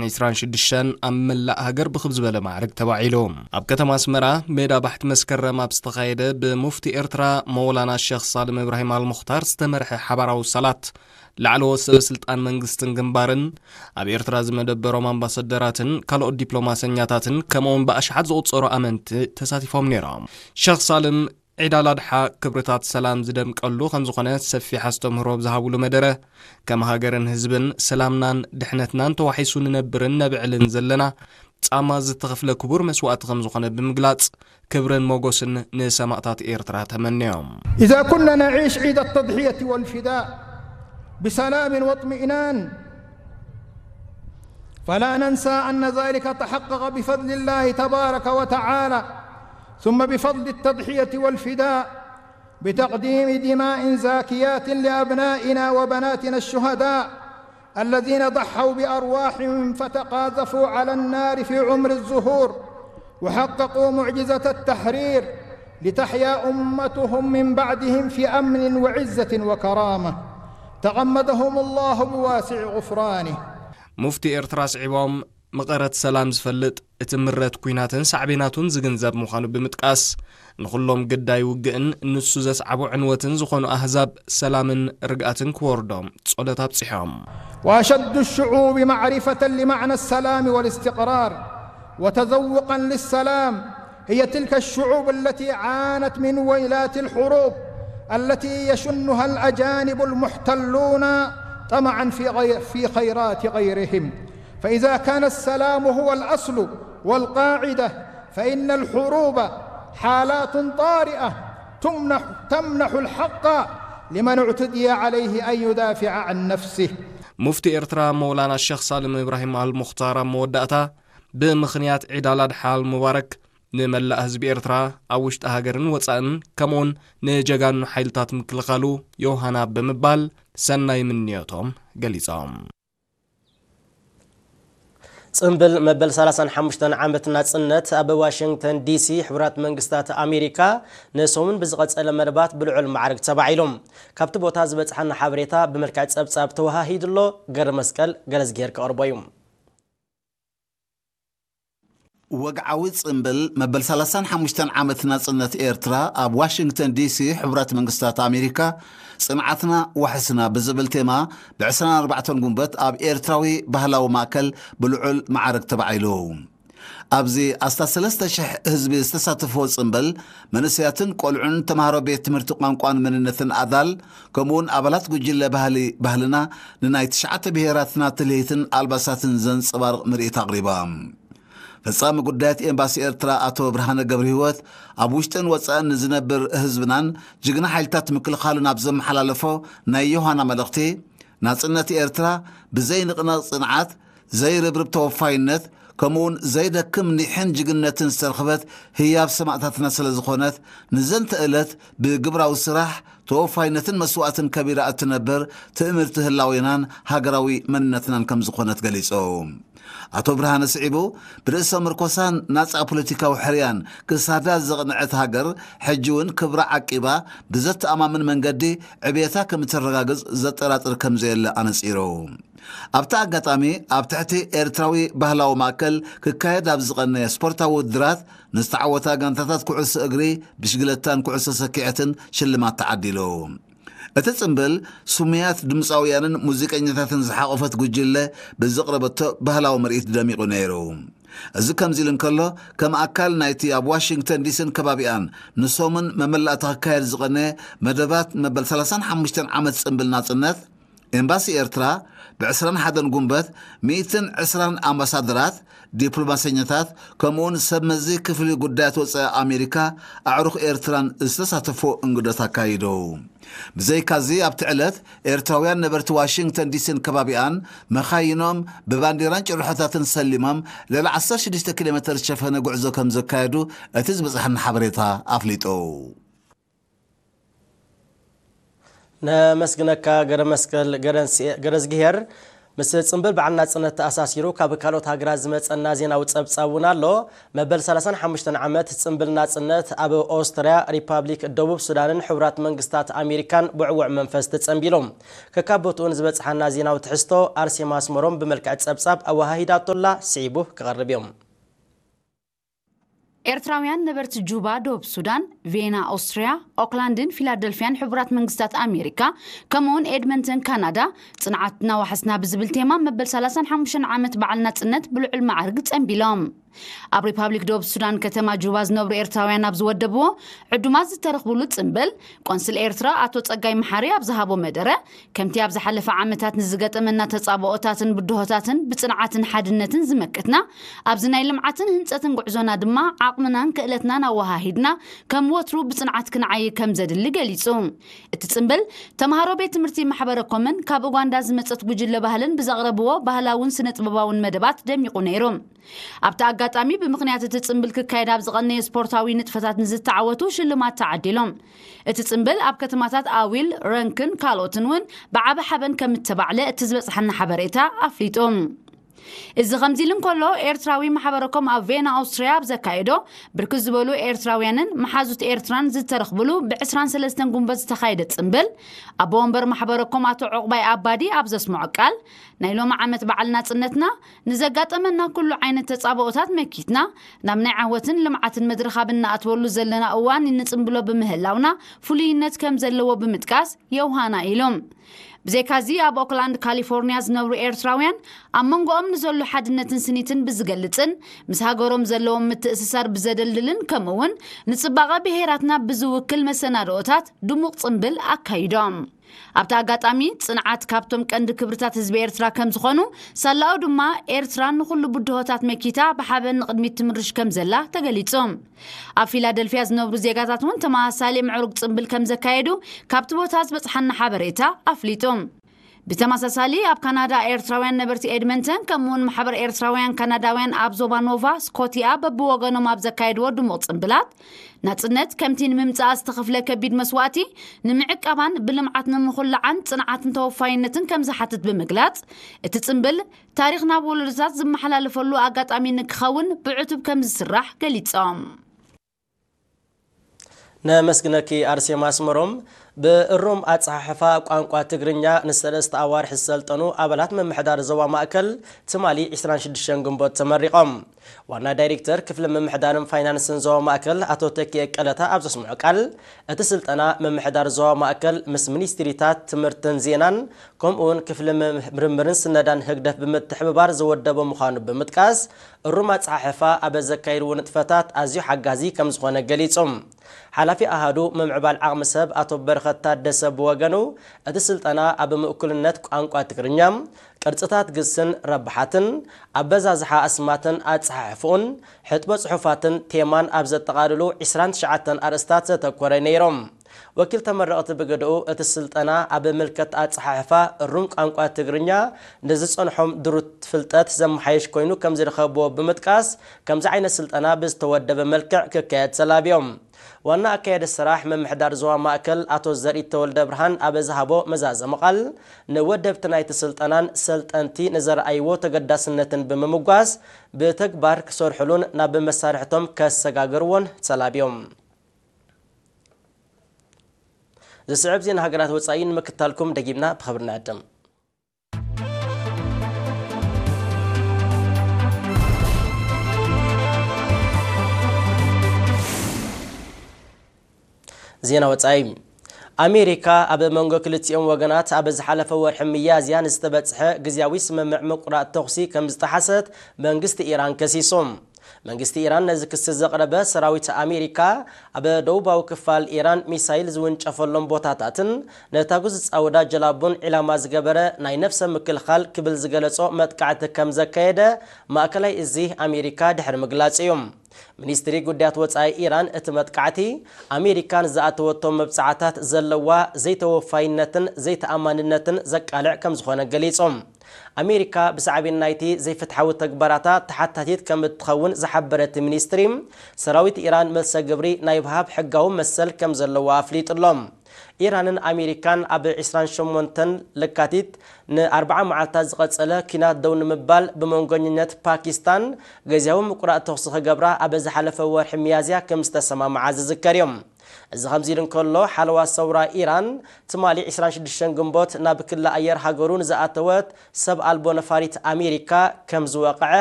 ዕስራን ሽዱሽተን ኣብ መላእ ሃገር ብኽብ ዝበለ ማዕርግ ተባዒሉ። ኣብ ከተማ ኣስመራ ሜዳ ባሕቲ መስከረም ኣብ ዝተኻየደ ብሙፍቲ ኤርትራ መውላና ሸኽ ሳልም እብራሂም ኣልሙኽታር ዝተመርሐ ሓባራዊ ሰላት ላዕለዎት ሰበ ስልጣን መንግስትን ግንባርን ኣብ ኤርትራ ዝመደበሮም ኣምባሳደራትን ካልኦት ዲፕሎማሰኛታትን ከምኡውን ብኣሽሓት ዝቑጸሩ ኣመንቲ ተሳቲፎም ነይሮም። ሸኽ ሳልም ዒድ ኣላድሓ ክብርታት ሰላም ዝደምቀሉ ከም ዝኾነ ሰፊሕ ኣስተምህሮ ኣብ ዝሃብሉ መደረ፣ ከም ሃገርን ህዝብን ሰላምናን ድሕነትናን ተዋሒሱ ንነብርን ነብዕልን ዘለና ጻማ ዝተኸፍለ ክቡር መስዋእቲ ከም ዝኾነ ብምግላጽ፣ ክብርን ሞጎስን ንሰማእታት ኤርትራ ተመንዮም። إذا كنا نعيش عيد التضحية والفداء بسلام واطمئنان، فلا ننسى أن ذلك تحقق بفضل الله تبارك وتعالى، ثم بفضل التضحية والفداء بتقديم دماء زاكيات لأبنائنا وبناتنا الشهداء الذين ضحوا بأرواحهم فتقاذفوا على النار في عمر الزهور، وحققوا معجزة التحرير، لتحيا أمتهم من بعدهم في أمن وعزة وكرامة. تغمدهم الله بواسع غفرانه. ሙፍቲ ኤርትራ ስዒቦም፣ መቐረት ሰላም ዝፈልጥ፣ እቲ ምረት ኲናትን ሳዕቤናቱን ዝግንዘብ ምዃኑ ብምጥቃስ፣ ንኹሎም ግዳይ ውግእን ንሱ ዘስዓቦ ዕንወትን ዝኾኑ ኣህዛብ ሰላምን ርግኣትን ክወርዶም ጸሎት ኣብጺሖም። وأشد الشعوب معرفة لمعنى السلام والاستقرار وتذوقا للسلام هي تلك الشعوب التي عانت من ويلات الحروب التي يشنها الأجانب المحتلون طمعا في غير، في خيرات غيرهم. فإذا كان السلام هو الأصل والقاعدة، فإن الحروب حالات طارئة تمنح، تمنح الحق لمن اعتدي عليه أن يدافع عن نفسه. ሙፍቲ ኤርትራ መውላና ሸኽ ሳልም እብራሂም ኣልሙኽታር ኣብ መወዳእታ፣ ብምኽንያት ዒድ ኣላድሓ ኣልሙባረክ ንመላእ ህዝቢ ኤርትራ ኣብ ውሽጢ ሃገርን ወጻእን ከምኡውን ንጀጋኑ ሓይልታት ምክልኻሉ ዮሃና ብምባል ሰናይ ምንዮቶም ገሊጾም። ጽምብል መበል ሰላሳን ሓሙሽተን ዓመት ናጽነት ኣብ ዋሽንግተን ዲሲ ሕቡራት መንግስታት ኣሜሪካ ንሰሙን ብዝቐጸለ መደባት ብልዑል ማዕርግ ተባዒሉ። ካብቲ ቦታ ዝበጽሓና ሓበሬታ ብመልክዕ ጸብጻብ ተወሃሂዱ ኣሎ። ገረ መስቀል ገለዝጌር ከቕርቦ እዩ። ወግዓዊ ጽምብል መበል ሰላሳን ሓሙሽተን ዓመት ናጽነት ኤርትራ ኣብ ዋሽንግተን ዲሲ ሕቡራት መንግስታት ኣሜሪካ ጽንዓትና ዋሕስና ብዝብል ቴማ ብ ዕስራን ኣርባዕተን ጉንበት ኣብ ኤርትራዊ ባህላዊ ማእከል ብልዑል ማዕረግ ተባዒሉ። ኣብዚ ኣስታት ሰለስተ ሽሕ ህዝቢ ዝተሳተፎ ጽምብል መንእሰያትን ቆልዑን ተምሃሮ ቤት ትምህርቲ ቋንቋን መንነትን ኣዳል ከምኡውን ኣባላት ጉጅለ ባህሊ ባህልና ንናይ ትሽዓተ ብሄራትና ትልሂትን ኣልባሳትን ዘንጸባርቕ ምርኢት ኣቕሪባ። ፈጻሚ ጉዳያት ኤምባሲ ኤርትራ ኣቶ ብርሃነ ገብረህይወት ኣብ ውሽጥን ወጻእን ንዝነብር ህዝብናን ጅግና ሓይልታት ምክልኻሉን ኣብ ዘመሓላለፎ ናይ ዮሃና መልእኽቲ፣ ናጽነት ኤርትራ ብዘይንቕነቕ ጽንዓት፣ ዘይርብርብ ተወፋይነት፣ ከምኡውን ዘይደክም ኒሕን ጅግነትን ዝተረኽበት ህያብ ሰማእታትና ስለ ዝኾነት፣ ንዘንተ ዕለት ብግብራዊ ስራሕ፣ ተወፋይነትን መስዋእትን ከቢራ እትነብር ትእምርቲ ህላዌናን ሃገራዊ መንነትናን ከም ዝኾነት ገሊጹ። ኣቶ ብርሃነ ስዒቡ፣ ብርእሰ ምርኮሳን ናጻ ፖለቲካዊ ሕርያን ክሳዳ ዘቕንዐት ሃገር፣ ሕጂ እውን ክብራ ዓቂባ ብዘተኣማምን መንገዲ ዕብየታ ከም እተረጋግጽ ዘጠራጥር ከም ዘየለ ኣነጺሩ። ኣብቲ ኣጋጣሚ፣ ኣብ ትሕቲ ኤርትራዊ ባህላዊ ማእከል ክካየድ ኣብ ዝቐነየ ስፖርታዊ ውድድራት ንዝተዓወታ ጋንታታት ኩዕሶ እግሪ፣ ብሽግለታን ኩዕሶ ሰኪዐትን ሽልማት ተዓዲሉ። እቲ ጽምብል፣ ስሙያት ድምጻውያንን ሙዚቀኛታትን ዝሓቖፈት ጉጅለ ብዘቕረበቶ ባህላዊ ምርኢት ደሚቑ ነይሩ። እዚ ከምዚ ኢሉ እንከሎ፣ ከም ኣካል ናይቲ ኣብ ዋሽንግተን ዲሲን ከባቢኣን ንሰሙን መመላእታ ክካየድ ዝቐነየ መደባት መበል ሰላሳን ሓሙሽተን ዓመት ጽምብል ናጽነት፣ ኤምባሲ ኤርትራ ብ ዕስራን ሓደን ጉንበት ሚእትን ዕስራን ኣምባሳደራት፣ ዲፕሎማሰኛታት፣ ከምኡውን ሰብ መዚ ክፍሊ ጉዳያት ወጻኢ ኣሜሪካ ኣዕሩኽ ኤርትራን ዝተሳተፎ እንግዶት ኣካይዱ። ብዘይካዚ ኣብቲ ዕለት ኤርትራውያን ነበርቲ ዋሽንግተን ዲሲን ከባቢኣን መኻይኖም ብባንዴራን ጭርሖታትን ሰሊሞም ልዕሊ ዓሰርተ ሽዱሽተ ኪሎ ሜተር ዝሸፈነ ጉዕዞ ከም ዘካየዱ እቲ ዝበጽሓና ሓበሬታ ኣፍሊጡ። ነመስግነካ ገረ መስቀል ገረዝግሄር። ምስ ጽምብል በዓል ናጽነት ተኣሳሲሩ ካብ ካልኦት ሃገራት ዝመጸና ዜናዊ ጸብጻብ እውን ኣሎ። መበል ሰላሳን ሓሙሽተን ዓመት ጽምብል ናጽነት ኣብ ኦስትርያ፣ ሪፓብሊክ ደቡብ ሱዳንን ሕቡራት መንግስታት ኣሜሪካን ብዕዉዕ መንፈስ ተጸንቢሎም። ከካብ ቦትኡን ዝበጽሓና ዜናዊ ትሕዝቶ ኣርሴማ ኣስመሮም ብመልክዕ ጸብጻብ ኣወሃሂዳቶላ ስዒቡ ክቐርብ እዮም። ኤርትራውያን ነበርቲ ጁባ፣ ደቡብ ሱዳን፣ ቬና፣ ኦስትርያ፣ ኦክላንድን ፊላደልፊያን ሕቡራት መንግስታት ኣሜሪካ፣ ከምኡውን ኤድመንተን፣ ካናዳ፣ ጽንዓትና ዋሕስና ብዝብል ቴማ መበል ሰላሳን ሓሙሽተን ዓመት በዓል ናጽነት ብልዑል መዓርግ ጸንቢሎም። ኣብ ሪፓብሊክ ደቡብ ሱዳን ከተማ ጁባ ዝነብሩ ኤርትራውያን ኣብ ዝወደብዎ ዕዱማት ዝተረኽብሉ ጽምብል፣ ቆንስል ኤርትራ ኣቶ ጸጋይ መሓሪ ኣብ ዝሃቦ መደረ፣ ከምቲ ኣብ ዝሓለፈ ዓመታት ንዝገጠመና ተጻብኦታትን ብድሆታትን ብጽንዓትን ሓድነትን ዝመከትና፣ ኣብዚ ናይ ልምዓትን ህንጸትን ጉዕዞና ድማ ዓቕምናን ክእለትናን ኣወሃሂድና ከም ወትሩ ብጽንዓት ክንዓይ ከም ዘድሊ ገሊጹ። እቲ ጽምብል፣ ተምሃሮ ቤት ትምህርቲ ማሕበረ ኮምን ካብ ኡጋንዳ ዝመጸት ጉጅለ ባህልን ብዘቕረብዎ ባህላውን ስነ ጥበባውን መደባት ደሚቑ ነይሩ። ኣብቲ ኣጋጣሚ ብምኽንያት እቲ ጽምብል ክካየድ ኣብ ዝቐነየ ስፖርታዊ ንጥፈታት ንዝተዓወቱ ሽልማት ተዓዲሎም። እቲ ጽምብል ኣብ ከተማታት ኣዊል፣ ረንክን ካልኦትን እውን ብዓቢ ሓበን ከም እተባዕለ እቲ ዝበጽሓና ሓበሬታ ኣፍሊጡ። እዚ ከምዚ ኢሉ እንከሎ፣ ኤርትራዊ ማሕበረኮም ኣብ ቬና ኣውስትርያ ኣብ ዘካየዶ ብርክት ዝበሉ ኤርትራውያንን መሓዙት ኤርትራን ዝተረኽብሉ ብ ዕስራን ሰለስተን ጉንበት ዝተኻየደ ጽምብል፣ ኣቦ ወንበር ማሕበረኮም ኣቶ ዑቕባይ ኣባዲ ኣብ ዘስምዖ ቃል፣ ናይ ሎሚ ዓመት በዓል ናጽነትና ንዘጋጠመና ኩሉ ዓይነት ተጻብኦታት መኪትና፣ ናብ ናይ ዓወትን ልምዓትን መድረኽ ኣብ እንኣትወሉ ዘለና እዋን እንጽምብሎ ብምህላውና ፍሉይነት ከም ዘለዎ ብምጥቃስ የውሃና ኢሎም። ብዘይካዚ ኣብ ኦክላንድ ካሊፎርኒያ ዝነብሩ ኤርትራውያን ኣብ መንጎኦም ንዘሎ ሓድነትን ስኒትን ብዝገልጽን ምስ ሃገሮም ዘለዎም ምትእስሳር ብዘደልድልን ከምኡ እውን ንጽባቐ ብሄራትና ብዝውክል መሰናድኦታት ድሙቕ ጽምብል ኣካይዶም። ኣብቲ ኣጋጣሚ ጽንዓት ካብቶም ቀንዲ ክብርታት ህዝቢ ኤርትራ ከም ዝኾኑ፣ ሳላኡ ድማ ኤርትራ ንኹሉ ብድሆታት መኪታ ብሓበን ንቕድሚት ትምርሽ ከም ዘላ ተገሊጹ። ኣብ ፊላደልፊያ ዝነብሩ ዜጋታት እውን ተመሳሳሊ ምዕሩግ ጽምብል ከም ዘካየዱ ካብቲ ቦታ ዝበጽሓና ሓበሬታ ኣፍሊጡ። ብተመሳሳሊ ኣብ ካናዳ ኤርትራውያን ነበርቲ ኤድመንተን ከምኡውን ማሕበር ኤርትራውያን ካናዳውያን ኣብ ዞባ ኖቫ ስኮቲያ በብወገኖም ኣብ ዘካየድዎ ድሙቕ ጽምብላት፣ ናጽነት ከምቲ ንምምጻኣ ዝተኸፍለ ከቢድ መስዋእቲ ንምዕቃባን ብልምዓት ንምኹላዓን ጽንዓትን ተወፋይነትን ከም ዝሓትት ብምግላጽ፣ እቲ ጽምብል ታሪኽ ናብ ወለዶታት ዝመሓላለፈሉ ኣጋጣሚ ንክኸውን ብዕቱብ ከም ዝስራሕ ገሊጾም። ነመስግነኪ ኣርሴማ ኣስመሮም። ብእሩም ኣጸሓሕፋ ቋንቋ ትግርኛ ንሰለስተ ኣዋርሕ ዝሰልጠኑ ኣባላት ምምሕዳር ዞባ ማእከል ትማሊ ዕስራን ሽዱሽተን ግንቦት ተመሪቖም። ዋና ዳይሬክተር ክፍሊ ምምሕዳርን ፋይናንስን ዞባ ማእከል ኣቶ ተኪኤ ቀለታ ኣብ ዘስምዖ ቃል፣ እቲ ስልጠና ምምሕዳር ዞባ ማእከል ምስ ሚኒስትሪታት ትምህርትን ዜናን ከምኡውን ክፍሊ ምርምርን ስነዳን ህግደፍ ብምትሕብባር ዝወደበ ምዃኑ ብምጥቃስ፣ እሩም ኣጸሓሕፋ ኣብ ዘካየድዎ ንጥፈታት ኣዝዩ ሓጋዚ ከም ዝኾነ ገሊጹ። ሓላፊ ኣሃዱ ምምዕባል ዓቕሚ ሰብ ኣቶ በረኸት ታደሰ ብወገኑ፣ እቲ ስልጠና ኣብ ምእኩልነት ቋንቋ ትግርኛ፣ ቅርጽታት ግስን ረብሓትን፣ ኣበዛዝሓ ኣስማትን ኣጸሓሕፍኡን፣ ሕጥቦ ጽሑፋትን ቴማን ኣብ ዘጠቓልሉ ዕስራን ትሽዓተን ኣርእስታት ዘተኮረ ነይሮም። ወኪል ተመረቕቲ ብግደኡ፣ እቲ ስልጠና ኣብ ምልከት ኣጸሓሕፋ እሩም ቋንቋ ትግርኛ ንዝጸንሖም ድሩት ፍልጠት ዘመሓይሽ ኮይኑ ከም ዝረኸብዎ ብምጥቃስ፣ ከምዚ ዓይነት ስልጠና ብዝተወደበ መልክዕ ክካየድ ተላብዮም። ዋና ኣካያዲ ስራሕ ምምሕዳር ዞባ ማእከል ኣቶ ዘርኢ ተወልደ ብርሃን ኣብ ዝሃቦ መዛዘሚ ቃል፣ ንወደብቲ ናይቲ ስልጠናን ሰልጠንቲ ንዘርኣይዎ ተገዳስነትን ብምምጓስ፣ ብተግባር ክሰርሕሉን ናብ መሳርሕቶም ከሰጋግርዎን ተላብዮም። ዝስዕብ ዜና ሃገራት ወጻኢ ንምክታልኩም ደጊምና ብኽብሪ ንዕድም። ዜና ወጻኢ። ኣሜሪካ ኣብ መንጎ ክልቲኦም ወገናት ኣብ ዝሓለፈ ወርሒ ሚያዝያ ንዝተበጽሐ ግዝያዊ ስምምዕ ምቁራጽ ተኹሲ ከም ዝጠሓሰት መንግስቲ ኢራን ከሲሱ። መንግስቲ ኢራን ነዚ ክሲ ዘቕረበ፣ ሰራዊት ኣሜሪካ ኣብ ደቡባዊ ክፋል ኢራን ሚሳይል ዝውንጨፈሎም ቦታታትን ነታጉ ዝጻወዳ ጀላቡን ዒላማ ዝገበረ ናይ ነፍሰ ምክልኻል ክብል ዝገለጾ መጥቃዕቲ ከም ዘካየደ ማእከላይ እዚ ኣሜሪካ ድሕሪ ምግላጽ እዩ። ሚኒስትሪ ጉዳያት ወጻኢ ኢራን፣ እቲ መጥቃዕቲ ኣሜሪካ ንዝኣተወቶ መብጽዓታት ዘለዋ ዘይተወፋይነትን ዘይተኣማንነትን ዘቃልዕ ከም ዝኾነ ገሊጹ። ኣሜሪካ ብሳዕቤን ናይቲ ዘይፍትሓዊ ተግባራታ ተሓታቲት ከም እትኸውን ዝሓበረ እቲ ሚኒስትሪ፣ ሰራዊት ኢራን መልሰ ግብሪ ናይ ምሃብ ሕጋዊ መሰል ከም ዘለዎ ኣፍሊጡ ኣሎ። ኢራንን ኣሜሪካን ኣብ ዕስራን ሸሞንተን ለካቲት ንኣርብዓ መዓልታት ዝቐጸለ ኲናት ደው ንምባል ብመንጎኝነት ፓኪስታን ግዝያዊ ምቁራጽ ተኹሲ ክገብራ ኣብ ዝሓለፈ ወርሒ ሚያዝያ ከም ዝተሰማምዓ ዝዝከር እዩ። እዚ ከምዚ ኢሉ እንከሎ፣ ሓለዋ ሰውራ ኢራን ትማሊ ዕስራን ሽዱሽተን ግንቦት ናብ ክሊ ኣየር ሃገሩ ንዝኣተወት ሰብ ኣልቦ ነፋሪት ኣሜሪካ ከም ዝወቕዐ